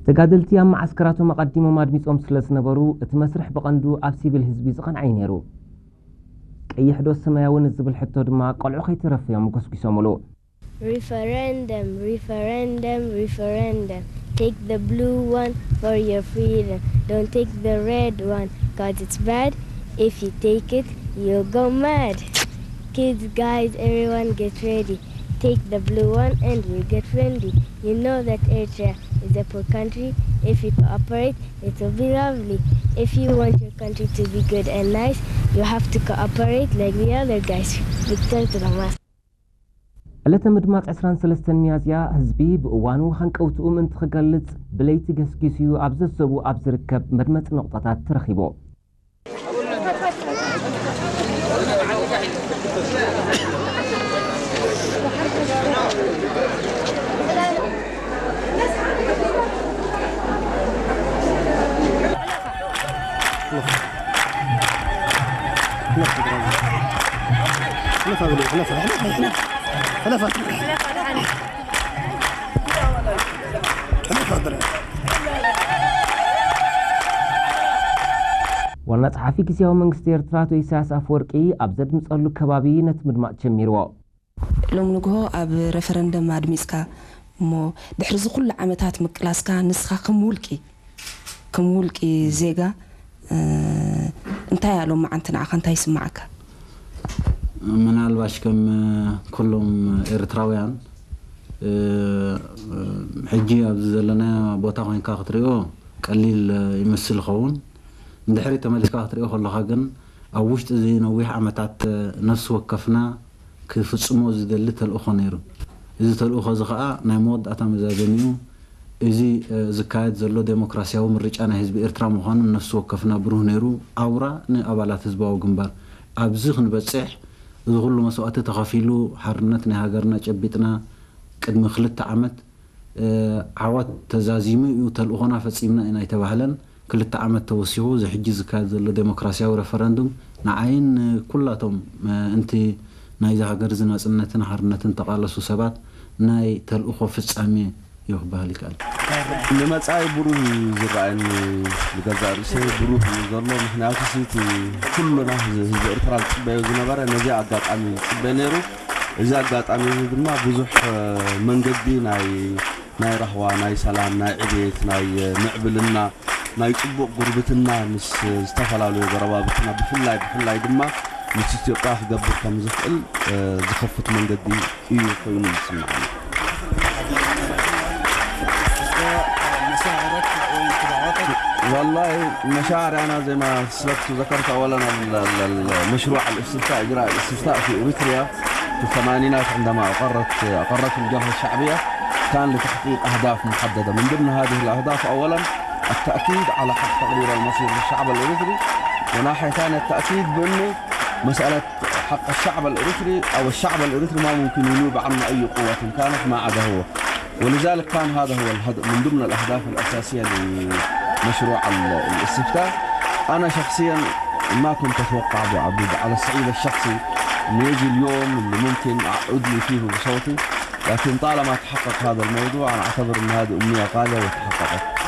ተጋደልቲ ኣብ መዓስከራቶም ኣቐዲሞም ኣድሚጾም ስለ ዝነበሩ፣ እቲ መስርሕ ብቐንዱ ኣብ ሲቪል ህዝቢ ዝቐንዐ እዩ ነይሩ። ቀይሕ ዶ ሰማያዊ ንዝብል ሕቶ ድማ፣ ቆልዑ ከይተረፉ እዮም ጎስጒሶምሉ። Referendum, referendum, referendum. Take the blue one for your freedom. Don't take the red one, 'cause it's bad. If you take it, you'll go mad. Kids, guys, everyone get ready. Take the blue one and we get friendly. You know that Eritrea is a poor country. If you cooperate, it will be lovely. If you want your country to be good and nice, you have to cooperate like the other guys. Victor Thomas. ዕለተ ምድማፅ ዕስራን ሰለስተን ሚያዝያ ህዝቢ ብእዋኑ ሃንቀውትኡ ምእንቲ ክገልፅ ብለይቲ ገስጊሱ እዩ ኣብ ዘዘቡ ኣብ ዝርከብ መድመፂ ነቑጣታት ተረኺቡ። ዋና ጸሓፊ ግዝያዊ መንግስቲ ኤርትራ ኣቶ ኢሳያስ ኣፈወርቂ ኣብ ዘድምጸሉ ከባቢ ነቲ ምድማጽ ጀሚርዎ። ሎም ንግሆ ኣብ ረፈረንደም ኣድሚጽካ እሞ ድሕሪ እዚ ኩሉ ዓመታት ምቅላስካ ንስኻ ከም ውልቂ፣ ከም ውልቂ ዜጋ፣ እ፣ እንታይ ኣሎ መዓንቲ ንዓኻ እንታይ ይስምዓካ? ምናልባሽ ከም ኩሎም ኤርትራውያን፣ እ፣ ሕጂ ኣብዚ ዘለና ቦታ ኮይንካ ክትሪኦ ቀሊል ይመስል ይኸውን። ንድሕሪት ተመሊስካ ክትሪኦ ከለኻ ግን ኣብ ውሽጢ እዚ ነዊሕ ዓመታት ነፍሲ ወከፍና ክፍጽሞ ዝደሊ ተልእኾ ነይሩ። እዚ ተልእኾ እዚ ኸኣ ናይ መወዳእታ መዛዘሚኡ እዚ፣ እ፣ ዝካየድ ዘሎ ዴሞክራሲያዊ ምርጫ ናይ ህዝቢ ኤርትራ ምዃኑ ነፍሲ ወከፍና ብሩህ ነይሩ። ኣውራ ንኣባላት ህዝባዊ ግንባር ኣብዚ ክንበጽሕ እዚ ኩሉ መስዋእቲ ተኸፊሉ ሓርነት ናይ ሃገርና ጨቢጥና ቅድሚ ክልተ ዓመት፣ እ፣ ዓወት ተዛዚሙ እዩ ተልእኾና ፈጺምና ኢና ኣይተባህለን። ክልተ ዓመት ተወሲኹ እዚ ሕጂ ዝካየድ ዘሎ ዴሞክራሲያዊ ረፈረንዱም ንዓይን ንኩላቶም፣ እ፣ እንቲ ናይዚ ሃገር እዚ ናጽነትን ሓርነትን ተቓለሱ ሰባት ናይ ተልእኾ ፍጻሜ እዩ ክበሃል ይከኣል። ንመጻኢ ብሩህ እዩ ዝረኣየኒ፣ ንገዛእ ርእሰይ ብሩህ እዩ ዘሎ። ምኽንያቱ እቲ ኩሉና ህዝቢ፣ ህዝቢ ኤርትራ ዝጽበዮ ዝነበረ ነዚ ኣጋጣሚ እዩ ዝጽበ ነይሩ። እዚ ኣጋጣሚ እዚ ድማ ብዙሕ፣ እ፣ መንገዲ ናይ፣ ናይ ራህዋ፣ ናይ ሰላም፣ ናይ ዕቤት፣ ናይ፣ እ፣ ምዕብልና፣ ናይ ጽቡቕ ጉርብትና ምስ ዝተፈላለዩ ጎረባብትና ብፍላይ፣ ብፍላይ ድማ ምስ ኢትዮጵያ ክገብር ከም ዝኽእል፣ እ፣ ዝኸፍት መንገዲ እዩ ኮይኑ ዝስምዓኒ። والله مشاعري أنا زي ما سلفت وذكرت أولًا ال-، ال-، ال-، مشروع الاستفتاء، إجراء الاستفتاء في إريتريا في الثمانينات عندما أقرت، أقرته الجبهة الشعبية، كان لتحقيق أهداف محددة. من ضمن هذه الأهداف أولًا التأكيد على حق تقرير المصير للشعب الإريتري، وناحية ثانية التأكيد بأنه مسألة حق الشعب الإريتري أو الشعب الإريتري ما ممكن ينوب عنه أي قوة كانت ما عدا هو. ولذلك كان هذا هو الهدف، من ضمن الأهداف الأساسية لمشروع ال-، الاستفتاء. أنا شخصيًا ما كنت أتوقع أبو عبود على الصعيد الشخصي إنه يجي اليوم اللي ممكن أعود لي فيه بصوتي، لكن طالما تحقق هذا الموضوع أنا أعتبر أن هذه أمنية غالية وتحققت.